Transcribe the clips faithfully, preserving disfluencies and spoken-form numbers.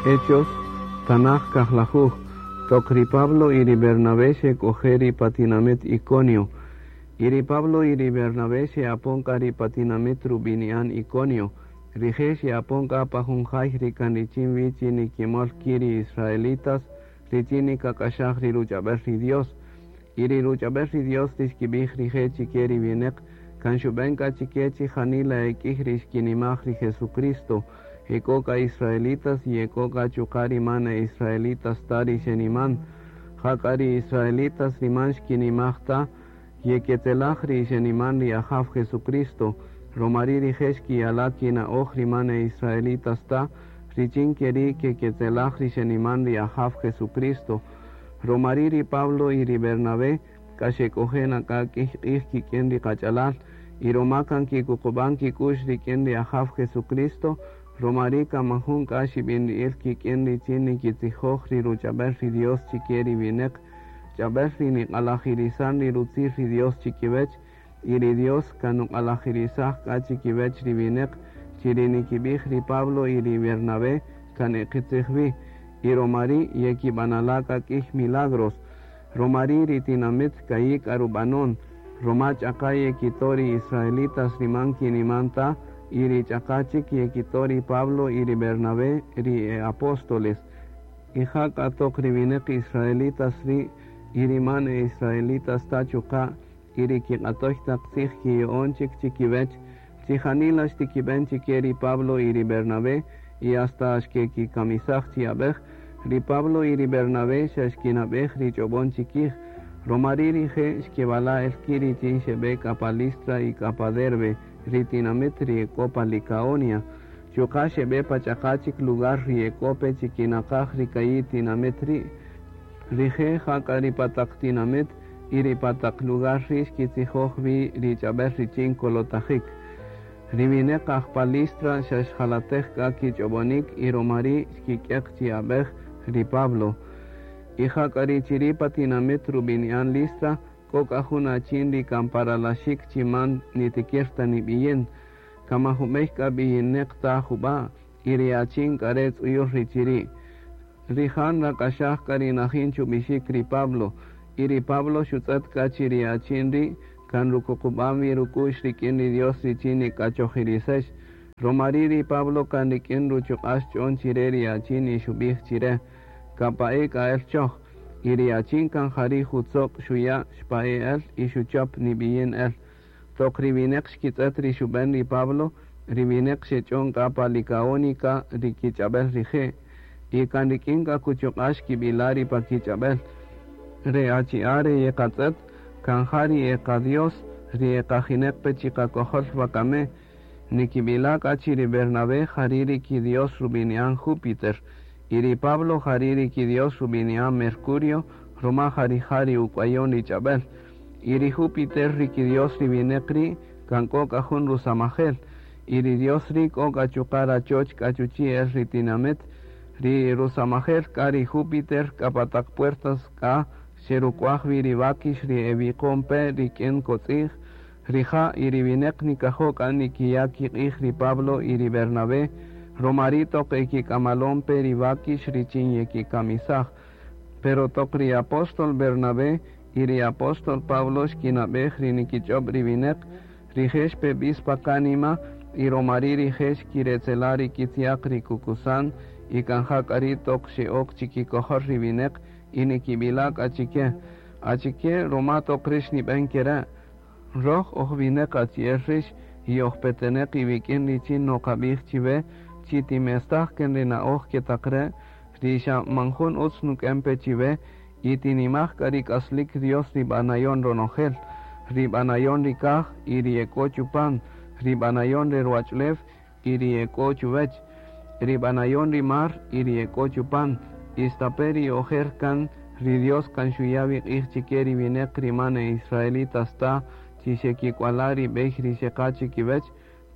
Hechos, Tanaj kajlajuj, toq ri Pablo y ri Bernabé xek'oje' ri pa tinamit Iconio. Y ri Pablo y ri Bernabé xe'apon k'a ri pa tinamit rubini'an Iconio. Rije' xe'apon k'a pa jun jay ri kan richin wi chi nikimol ki' ri israelitas richin nikak'axaj ri ruch'ab'el ri Dios. Y ri ruch'ab'el ri Dios ri xkib'ij rije' chike ri wineq kan xub'en k'a chike chi janila e k'ij ri xkinimaj ri Jesucristo. Ek'o k'a israelitas y ek'o k'a chuqa' ri man e israelitas ta ri xeniman. Jak'a ri israelitas ri man xkinimaj ta yeketzelaj ri xeniman ri Ajaw Jesucristo. Romari rije' xkiyala' kina'oj ri man e israelitas ta richin keri' keketzelaj ri xeniman ri Ajaw Jesucristo. Romari ri Pablo y ri Bernabé k'a xek'oje' na k'a k'ij q'ij kik'in ri kach'alal y roma kan kikuqub'an kik'u'x rik'in ri Ajaw Jesucristo, romari kan majun k'a xib'inri'il kik'in richin nikitzijoj ri ruch'ab'el ri Dios chike ri wineq, ch'ab'el ri niq'alajirisan ri rutzij ri Dios chikiwech, y ri Dios kan nuq'alajirisaj k'a chikiwech ri wineq chi ri nikib'ij ri Pablo y ri Bernabé kan e qitzij wi, y romari yekib'anala' k'a k'ij milagros. Romari ri tinamit ka'i' k'a rub'anon, roma ch'aqa yekito' ri israelitas ri man kiniman ta, y ri ch'aqa chik yekito' ri Pablo y ri Bernabé ri e apóstoles. Y jak'a toq ri wineq israelitas ri' y ri man e israelitas ta chuqa' y ri kiq'atoy taq tzij kiya'on chik chikiwech, chi janila xtikib'en chike ri Pablo y ri Bernabé y hasta xkekikamisaj chi ab'ej, ri Pablo y ri Bernabé xa xkinab'ej ri ch'ob'on chikij. Romari rije' xkeb'ala' el ki' richin xeb'e k'a pa Listra y k'a pa Derbe, ri tinamit ri ek'o pa Licaonia. Chuqa' xeb'e pa ch'aqa chik lugar ri ek'o pe chikinaqaj ri ka'i' tinamit ri'. Rije' jak'a ri pa taq tinamit y ri pa taq lugar ri' xkitzijoj wi ri ch'ab'el richin kolotajik. Ri wineq aj pa Listra xa xjalatej k'a kich'ob'onik y romari xkik'eq chi ab'ej ri Pablo. Y jak'a ri chiri' pa tinamit rubini'an Listra, k'o k'a jun achin ri kan paralaxik chi man nitikir ta nib'iyin. Kan man jub'ey k'a b'iyineq ta jub'a', y ri achin k'a re' tz'uyul ri chiri'. Rija' nrak'axaj k'a ri najin chub'ixik ri Pablo, y ri Pablo xutz'et k'a chi ri achin ri' kan rukuqub'an wi ruk'u'x rik'in ri Dios richin nik'achojirisex. Romari ri Pablo kan rik'in ruchuq'a' xch'on chire ri achin y xub'ij chire, kapa'e k'a el choj. Y ri achin kan jari' jutzoq' xuya' xpa'e' el y xuchop nib'iyin el. Toq ri wineq xkitz'et ri xub'en ri Pablo, ri wineq xech'on k'a pa Licaónica ri kich'ab'el rije', y kan rik'in k'a kuchuq'a' xkib'ila' ri pa kich'ab'el. Re achi'a' re yeqatz'et, kan ja ri eqa-Dios, ri eqajineq pe chiqakojol wakame, nikib'ila' k'a chi ri Bernabé jari' ri ki-Dios rubini'an Júpiter, y ri Pablo jari' ri ki-Dios rubini'an Mercurio, roma jari jari uk'wayon ri ch'ab'el. Y ri Júpiter ri ki-Dios ri wineq ri' kan k'o k'a jun rusamajel, y ri Dios ri' k'o k'a chuqa' rachoch k'a chuchi' el ri tinamit, ri rusamajel k'a ri Júpiter k'a pa taq puertas k'a xeruk'waj wi ri wakix ri ewiqon pe rik'in kotz'i'j, rija' y ri wineq nikajo' k'a nikiya' kiq'ij ri Pablo y ri Bernabé, romari toq ekik'amalon pe ri wakix richin yekikamisaj. Pero toq ri apóstol Bernabé y ri apóstol Pablo xkinab'ej ri nikich'ob' ri wineq, rije' xpe b'is pa kanima y romari rije' xkiretzela' ri kitziaq ri kukusan y kan jak'a ri' toq xe'ok chikikojol ri wineq y nikib'ila' k'a chike. Achike roma toq rix nib'en kere', roj oj wineq achi'el rix y oj peteneq iwik'in richin noqab'ij chiwe chi timestaj ken ri na'oj ketaq re', ri xa man jun utz nuk'en pe chiwe y tinimaj k'a ri k'aslik Dios ri b'anayon ronojel, ri b'anayon ri kaj y ri ek'o chupan, ri b'anayon ri ruwach'ulew y ri ek'o chuwech, ri b'anayon ri mar y ri ek'o chupan, istape' ri ojer kan ri Dios kan xuya' wi q'ij chike ri wineq ri man e israelitas ta chi xekik'wala' ri b'ey ri xeqa chikiwech,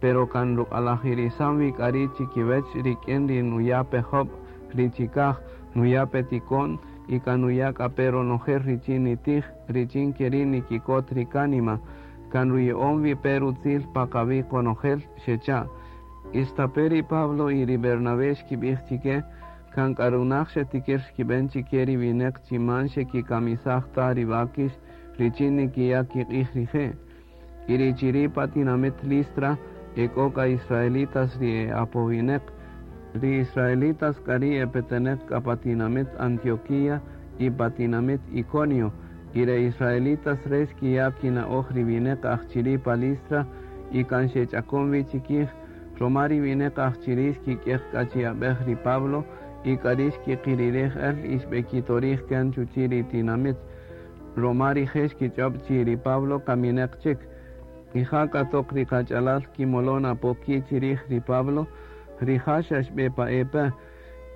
pero kan ruq'alajirisan wi k'a ri' chikiwech rik'in ri nuya' pe job' ri chikaj, nuya' pe tiko'n y kan nuya' k'a pe ronojel richin nitij, richin keri' nikikot ri kanima, kan ruya'on wi pe rutzil pa qawi' qonojel xecha'. Istape' ri Pablo y ri Bernabé xkib'ij chike, Kan k'a runaj xetikir xkib'en chike ri wineq chi man xekikamisaj ta ri wakix richin nikiya' kiq'ij rije'. Y ri chiri' pa tinamit Listra e k'o k'a israelitas ri e apowineq. Ri israelitas k'a ri' e peteneq k'a pa tinamit Antioquía y pa tinamit Iconio. Y ri israelitas re' xkiya' kina'oj ri wineq aj chiri' pa Listra y kan xech'akon wi chikij. Roma ri wineq aj chiri' xkik'eq k'a chi ab'ej ri Pablo y k'a ri' xkiqirirej el y xb'ekitorij kan chuchi' ri tinamit. Roma rije' xkich'ob' chi ri Pablo kamineq chik. Y ja k'a toq ri qach'alal kimolon apo ki' chirij ri Pablo, rija' xa xb'e pa'e pe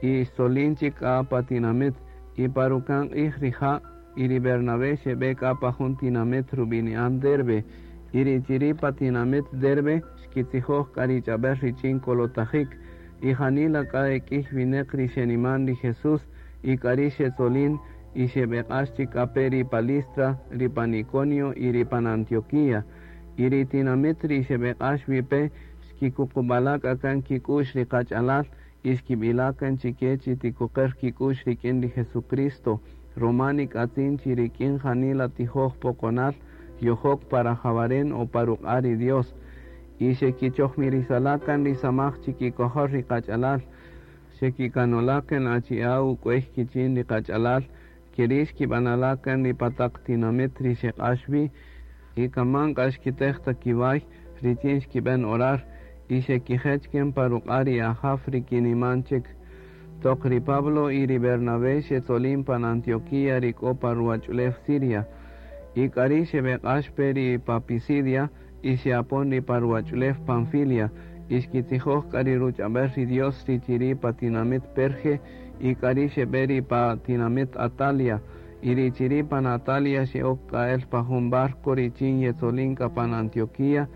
y xtzolin chik k'a pa tinamit. Y pa ruka'n q'ij rija' y ri Bernabé xeb'e k'a pa jun tinamit rub'ini'an Derbe. Y ri chiri' pa tinamit Derbe xkitzijoj k'a ri ch'ab'äl richin kolotajik. Y janila k'a e k'iy wineq ri xeniman ri Jesús y k'a ri' xetzolin y xeb'eq'ax chik k'a pe ri pa Listra, ri pan Iconio y ri pan Antioquía. Y ri tinamit ri xeb'eq'ax wi pe xkikuqub'ala' k'a kan kik'u'x ri qach'alal y xkib'ila' kan chike chi tikuqer kik'u'x rik'in ri Jesucristo. Roma nik'atzin chi rik'in janila tijoj poqonal yojok pa rajawaren o pa ruq'a' ri Dios. Y xekichojmirisala' kan ri samaj chikikojol ri qach'alal. Xekikanola' kan achi'a' uk'uey kichin ri qach'alal, keri' xkib'anala' kan ri pa taq tinamit ri xeq'ax wi. Y kaman k'a xkitej ta kiway richin xkib'en orar y xekijech kan pa ruq'a' ri Ajaw ri kiniman chik. Toq ri Pablo y ri Bernabé xetzolin pan Antioquía ri k'o pa ruwach'ulew Siria. Y k'a ri' xeb'eq'ax pe ri pa Pisidia y xe'apon ri pa ruwach'ulew Panfilia. Y xkitzijoj k'a ri ruch'ab'äl ri Dios ri chiri' pa tinamit Perge y k'a ri' xeb'e ri pa tinamit Atalia. Y ri chiri' pan Atalia xe'ok k'a el pa jun barco richin yetzolin k'a pan Antioquía.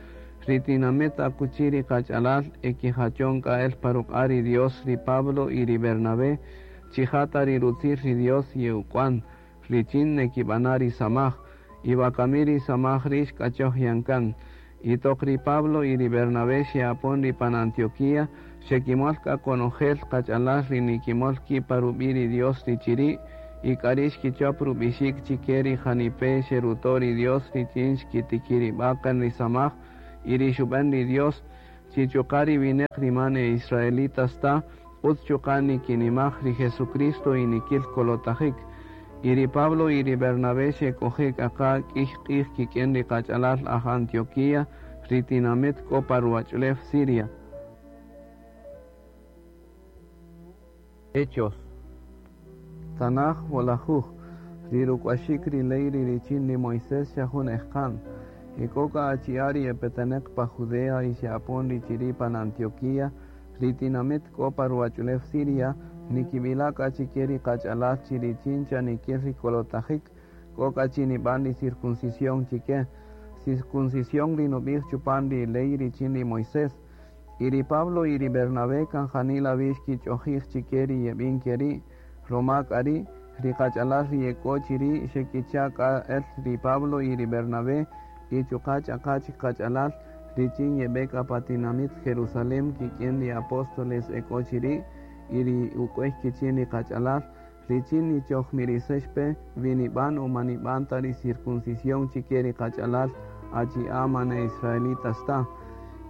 Ri tinamit akuchi ri qach'alal ekijachon k'a el pa ruq'a' ri Dios ri Pablo y ri Bernabé chi ja ta ri rutzij ri Dios ye'uk'wan richin nekib'ana' ri samaj. Y wakami ri samaj ri' xk'achoj yan kan. Y toq ri Pablo y ri Bernabé xe'apon ri pan Antioquía, xekimol k'a konojel qach'alal ri nikimol ki' pa rub'i' ri Dios ri chiri', y k'a ri' xkichop rub'ixik chike ri janipe' xeruto' ri Dios richin xkitikirib'a' kan ri samaj y ri xub'en ri Dios chi chuqa' ri wineq ri man e israelitas ta, utz chuqa' nikinimaj ri Jesucristo y nikil kolotajik. Y ri Pablo y ri Bernabé xek'oje' k'a qa k'iy q'ij kik'in ri qach'alal aj Antioquía, ri tinamit k'o pa ruwach'ulew Siria. Hechos. Tanaj wolajuj, ri ruk'waxik ri ley ri richin ri Moisés xa jun ejqa'n. E k'o k'a achi'a' ri epeteneq pa Judea y xe'apon ri chiri' pan Antioquía, ri tinamit k'o pa ruwach'ulew Siria, nikib'ila' k'a chike ri qach'alal chi richin chanikil ri kolotajik, k'o k'a chi nib'an ri circuncisión chike. Circuncisión ri nub'ij chupan ri ley richin ri Moisés. Y ri Pablo y ri Bernabé kan janila wi xkich'ojij chike ri yeb'in keri', roma k'a ri' ri qach'alal ri yek'o chiri' xekicha' k'a el ri Pablo y ri Bernabé y chuqa' ch'aqa' chik qach'alal richin yeb'e k'a pa tinamit Jerusalén kik'in ri apóstoles ek'o chiri' y ri uk'uey kichin ri qach'alal richin nichojmirisex pe wi nib'an o man nib'an ta ri circuncisión chike ri qach'alal achi'a' man e israelitas ta.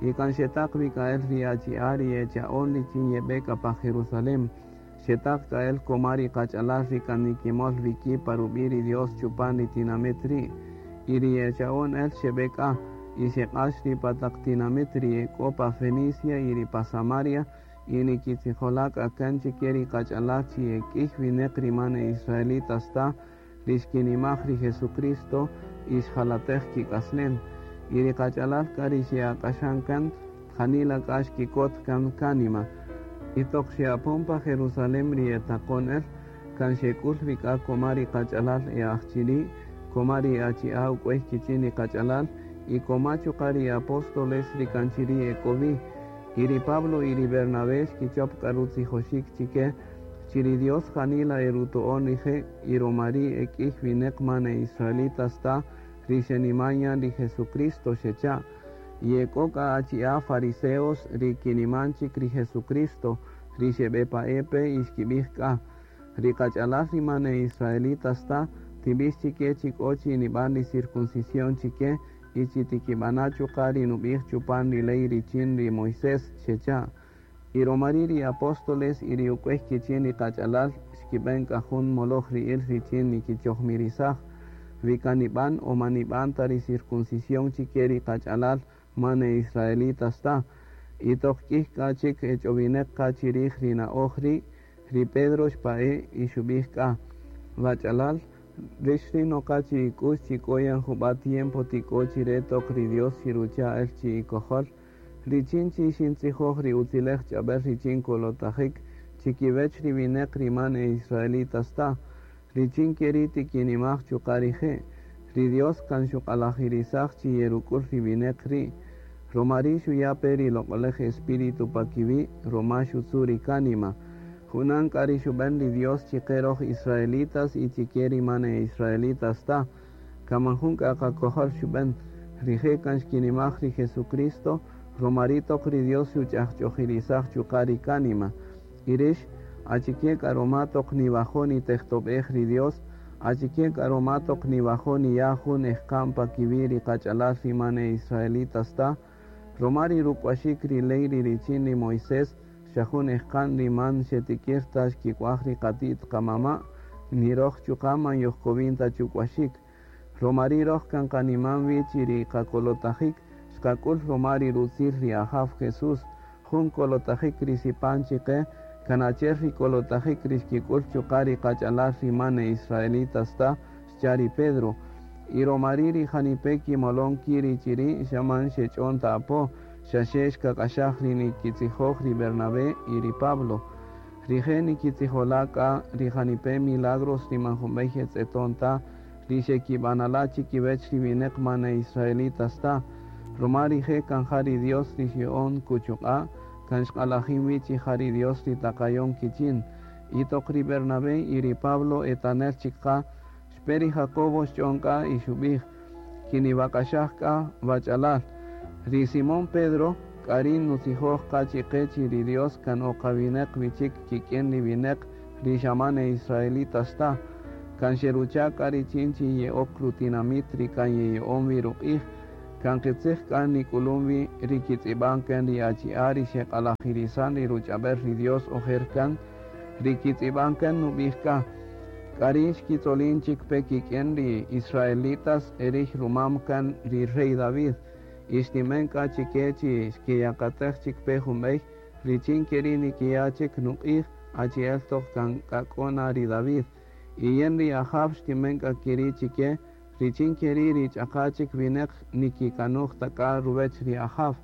Y kan xetaq wi k'a el ri achi'a' ri echa'on richin yeb'e k'a pa Jerusalén. Xetaq k'a el koma ri qach'alal ri kan nikimol wi ki' pa rub'i' ri Dios chupan ri tinamit ri'. Y ri echa'on el xeb'e k'a y xeq'ax ri pa taq tinamit ri ek'o pa Fenicia y ri pa Samaria y nikitzijola' k'a kan chike ri qach'alal chi e k'iy wineq ri man e israelitas ta ri xkinimaj ri Jesucristo y xjalatej kik'aslen. Y ri qach'alal k'a ri xe'aq'axan kan janila k'a xkikot kan kanima. Y toq xe'apon pa Jerusalén ri etaqon el kan xek'ul wi k'a koma ri qach'alal e aj chiri', koma ri achi'a' uk'uey kichin ri qach'alal y koma chuqa' ri apóstoles ri kan chiri' ek'o wi. Y ri Pablo y ri Bernabé xkichop k'a rutzijoxik chike chi ri Dios janila eruto'on rije' y roma ri' e k'iy wineq man e israelitas ta ri xeniman yan ri Jesucristo xecha'. Y ek'o k'a achi'a' fariseos ri kiniman chik ri Jesucristo ri xebepa'e-pe y xkib'ij k'a, ri qach'alal ri man e israelitas ta, tib'ix chike chi k'o chi nib'an ri circuncisión chike y chi tikib'ana chuqa' ri nub'ij chupan ri ley richin ri Moisés, xecha'. Y romari ri apóstoles y ri uk'uey kichin ri qach'alal xkib'en k'a jun moloj ri'il richin nikichojmirisaj, wi kan nib'an o man nib'an ta ri circuncisión chike ri qach'alal man e israelitas ta. Y toq k'ij k'a chik ech'owineq qa chirij ri na'oj ri', ri Pedro xpa'e' y xub'ij k'a, wach'alal, rix ri noqa chi ik'ux chi k'o yan jub'a' tiempo tik'o chire toq ri Dios xirucha' el chi ikojol, richin chi xintzijoj ri utzilej ch'ab'el richin kolotajik chikiwech ri wineq ri man e israelitas ta, richin keri' tikinimaj chuqa' rije'. Ri Dios kan xuq'alajirisaj chi yeruk'ul ri wineq ri', romari xuya' pe ri loq'olej Espíritu pa kiwi', roma xutzu' ri kánima. Junan k'a ri xub'en ri Dios chike roj israelitas y chike ri man e israelitas ta, kan man jun k'a qakojol xub'en, rije' kan xkinimaj ri Jesucristo, romari toq ri Dios xuch'ajch'ojirisaj chuqa' ri kánima. Y rix, achike k'a roma toq niwajo' nitejtob'ej ri Dios, achike k'a roma toq niwajo' niya' jun ejqa'n pa kiwi' ri qach'alal ri man e israelitas ta, roma ri ruk'waxik ri ley ri richin ri Moisés, xa jun ejqa'n ri man xetikir ta xkik'waj ri qati't qamama', ni roj chuqa' man yojkowin ta chuk'waxik. Romari roj kan qaniman wi chi ri qakolotajik xqak'ul roma ri rutzil ri Ajaw Jesús, jun kolotajik ri sipan chike, kan achi'el ri kolotajik ri xkik'ul chuqa' ri qach'alal ri man e israelitas ta, xcha' ri Pedro. Y romari ri janipe' kimolon ki' ri chiri' xa man xech'on ta apo, xaxe xkak'axaj ri nikitzijoj ri Bernabé y ri Pablo. Rije' nikitzijola' k'a ri janipe' milagros ri man junb'ey etz'eton ta, ri xekib'anala' chikiwech ri wineq man e israelitas ta, roma rije' kan ja ri Dios ri xya'on kuchuq'a', kan xq'alajin wi chi ja ri Dios ri taqayon kichin. Y toq ri Bernabé y ri Pablo etanel chik qa, xpe ri Jacobo xch'on k'a y xub'ij, kiniwak'axaj k'a wach'alal. Ri Simón Pedro k'ari nutzijoj qa chiqe chi ri Dios kan oqawineq wichik kik'in ri wineq ri xa man e israelitas ta, kan xerucha' k'a richin chi ye'ok rutinamit ri kan yeya'on wi ruq'ij, kan qitzij k'a nik'ulun wi ri kitz'ib'an kan ri achi'a' ri xeq'alajirisan ri ruch'ab'el ri Dios ojer kan, ri kitz'ib'an kan nub'ij k'a, k'ari xkitzolin chik pe kik'in ri israelitas erij rumam kan ri rey David, y xtimen k'a chike chi xkiyakatej chik pe junb'ey, richin keri' nikiya' chik nuq'ij achi'el toq kan k'a k'o na ri David. Y yen ri Ajaw xtimen k'a keri' chike, richin keri' ri ch'aqa chik wineq nikikanuj ta k'a ruwech ri Ajaw.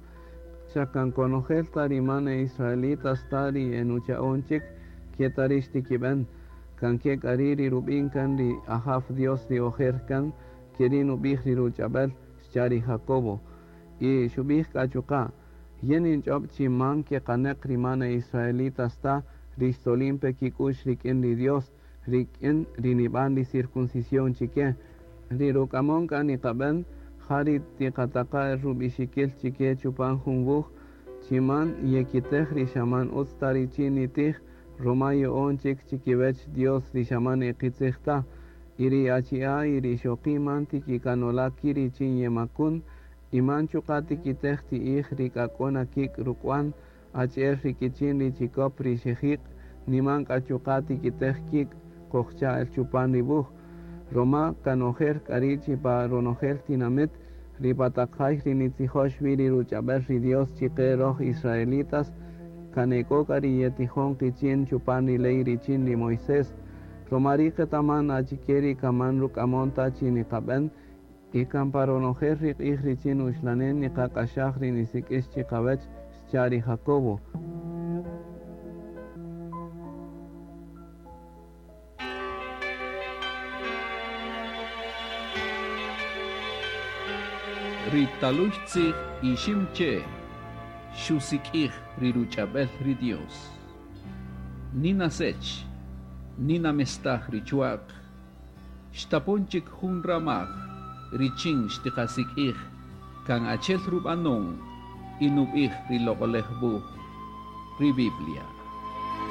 Xa kan konojel ta ri man e israelitas ta ri enucha'on chik, ke ta ri xtikib'en, kan ke k'a ri' ri rub'in kan ri Ajaw Dios ri ojer kan, keri' nub'ij ri ruch'ab'el, xcha' ri Jacobo. Y xub'ij k'a chuqa', yen ninch'ob' chi man keqaneq ri man e israelitas ta, ri xtzolin pe kik'ux rik'in ri Dios, rik'in ri nib'an ri circuncisión chike. Ri ruk'amon k'a niqab'en, ja ri tiqataqa' el rub'ixikil chike chupan jun wuj, chi man yekitej ri xa man utz ta richin nitij, roma ya'on chik chikiwech Dios ri xa man e qitzij ta, y ri achi'a' y ri ixoqi' man tikikanola' ki' richin yemakun, y man chuqa' tikitej ti'ij ri k'a k'o na kik' ruk'wan, achi'el ri kichin ri chikop ri xejiq', niman k'a chuqa' tikitej kik' kojcha' el chupan ri wuj, roma kan ojer k'a ri' chi pa ronojel tinamit, ri pa taq jay ri nitzijox wi ri ruch'ab'el ri Dios chike roj israelitas, kan e k'o k'a ri yetijon qichin chupan ri ley richin ri Moisés, roma ri' qetaman achike ri kaman ruk'amon ta chi niqab'en, y kan pa ronojel ri q'ij richin uxlanen niqaq'axaj ri nisik'ix chiqawech, xcha' ri Jacobo. Ri taluy tzij Iximche' xusik'ij ri ruch'ab'el ri Dios. Nina sech, nina mestaj ri chuaq, xtapon chik jun ramaj, richin xtiqasik'ij, kan achel rub'anon y nub'ij ri loq'olej wuj, ri Biblia.